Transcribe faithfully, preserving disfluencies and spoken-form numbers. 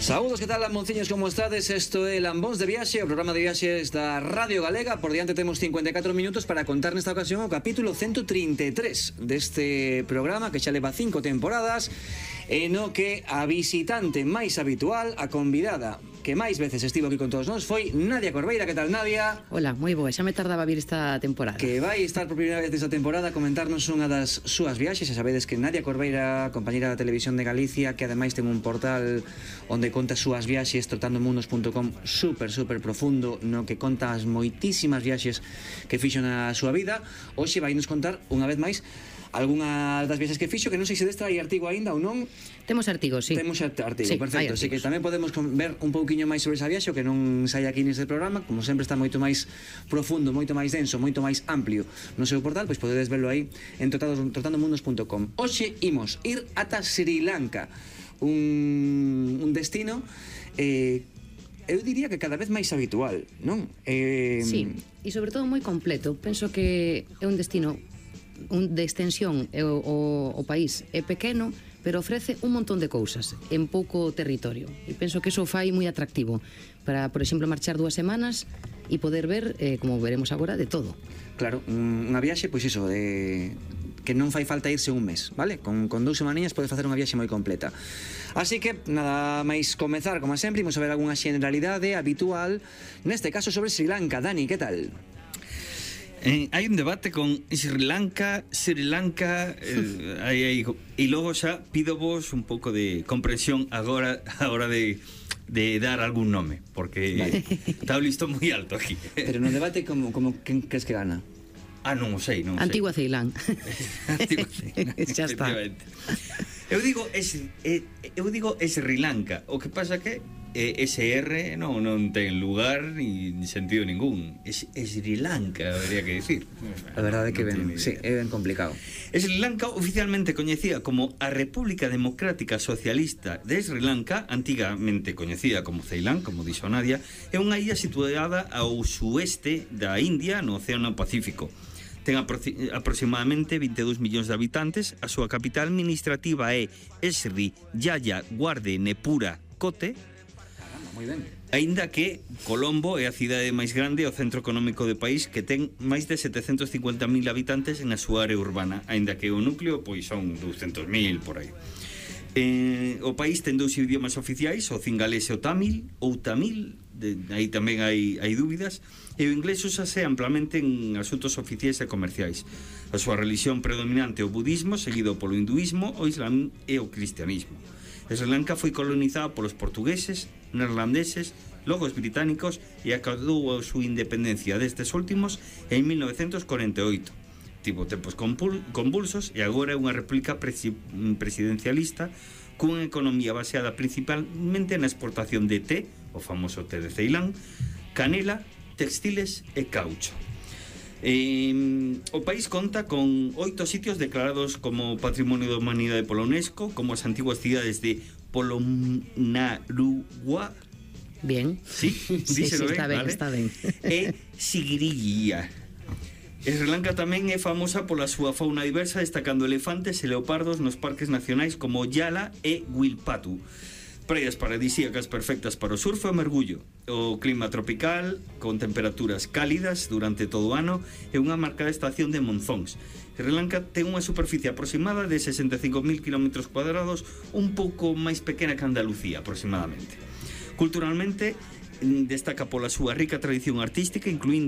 Saúdos, que tal, lambonciños, como estades? Isto é Lambóns de Viaxe, o programa de viaxes da Radio Galega. Por diante temos cincuenta e catro minutos para contar nesta ocasión o capítulo ciento trinta e tres deste programa, que xa leva cinco temporadas, e no que a visitante máis habitual, a convidada que máis veces estivo aquí con todos nós, foi Nadia Corveira. Que tal, Nadia? Hola, moi boa, xa me tardaba vir esta temporada. Que vai estar por primeira vez esta temporada a comentarnos unha das súas viaxes. Xa sabedes que Nadia Corveira, compañera da Televisión de Galicia, que ademais ten un portal onde conta as súas viaxes, trotandomundos punto com, super, super profundo, no que conta as moitísimas viaxes que fixo na súa vida. Hoxe vai nos contar unha vez máis algunhas das viaxes que fixo, que non sei se desta hai artigo aínda ou non. Temos artigos, sí. Temos artigo, sí, perfecto. Así que tamén podemos ver un pouquiño máis sobre esa viaxe, que non sai aquí neste programa. Como sempre está moito máis profundo, moito máis denso, moito máis amplio no seu portal, pois podedes verlo aí en trotandomundos punto com. Hoxe imos ir ata Sri Lanka, un, un destino eh, eu diría que cada vez máis habitual, non? Eh... Sí, e sobre todo moi completo. Penso que é un destino un de extensión, o, o, o país é pequeno, pero ofrece un montón de cousas en pouco territorio, e penso que iso fai moi atractivo para, por exemplo, marchar dúas semanas e poder ver, eh, como veremos agora, de todo. Claro, unha viaxe, pois iso, de que non fai falta irse un mes, vale? Con, con dous semaninhas podes facer unha viaxe moi completa. Así que, nada máis comezar, como sempre, imos a ver algunha generalidade habitual, neste caso sobre Sri Lanka. Dani, que tal? Eh, hai un debate con Sri Lanka, Sri Lanka, eh, hai, hai, e logo xa pido vos un pouco de comprensión agora a hora de, de dar algún nome, porque vale. Está o listo moi alto aquí. Pero no debate, como, como quen crees que gana? Ah, non o sei, non o sei. Antigua Ceilán. Antigua Ceilán, xa está. Eu digo, es, eh, eu digo Sri Lanka, o que pasa que eh, S R non, non ten lugar ni, ni sentido ningún. Es, es Sri Lanka, habría que decir. A verdade é que ben, sí, é ben complicado. Sri Lanka, oficialmente coñecida como a República Democrática Socialista de Sri Lanka, antigamente coñecida como Ceilán, como dixo Nadia, é unha illa situada ao sueste da India, no Océano Pacífico. Ten apro- aproximadamente vinte e dous millóns de habitantes. A súa capital administrativa é Sri Jayawardenepura Kotte. Moi ben. Aínda que Colombo é a cidade máis grande e o centro económico do país, que ten máis de setecentos cincuenta mil habitantes na súa área urbana, aínda que o núcleo pois son douscentos mil por aí. Eh, o país ten dous idiomas oficiais, o cingalés e o tamil, ou tamil, de, aí tamén hai, hai dúbidas, e o inglés úsase amplamente en asuntos oficiais e comerciais. A súa religión predominante é o budismo, seguido polo hinduismo, o islam e o cristianismo. Sri Lanka foi colonizada polos portugueses, neerlandeses, logo os británicos, e acadou a súa independencia destes últimos en mil novecentos corenta e oito. Tivo tempos convulsos e agora é unha república presi presidencialista cunha economía baseada principalmente na exportación de té, o famoso té de Ceilán, canela, textiles e caucho. Eh, o país conta con oito sitios declarados como Patrimonio da Humanidade pola UNESCO, como as antiguas cidades de Polonnaruwa. Bien. Sí, sí, sí, ben, está ben, vale? está ben. E Sigiriya. Sri Lanka tamén é famosa pola súa fauna diversa, destacando elefantes e leopardos nos parques nacionais como Yala e Wilpatu. Praias paradisíacas perfectas para o surf e o mergullo. O clima tropical, con temperaturas cálidas durante todo o ano, e unha marcada estación de monzóns. Sri Lanka ten unha superficie aproximada de sesenta e cinco mil kilómetros cuadrados, un pouco máis pequena que Andalucía, aproximadamente. Culturalmente, destaca pola súa rica tradición artística, incluindo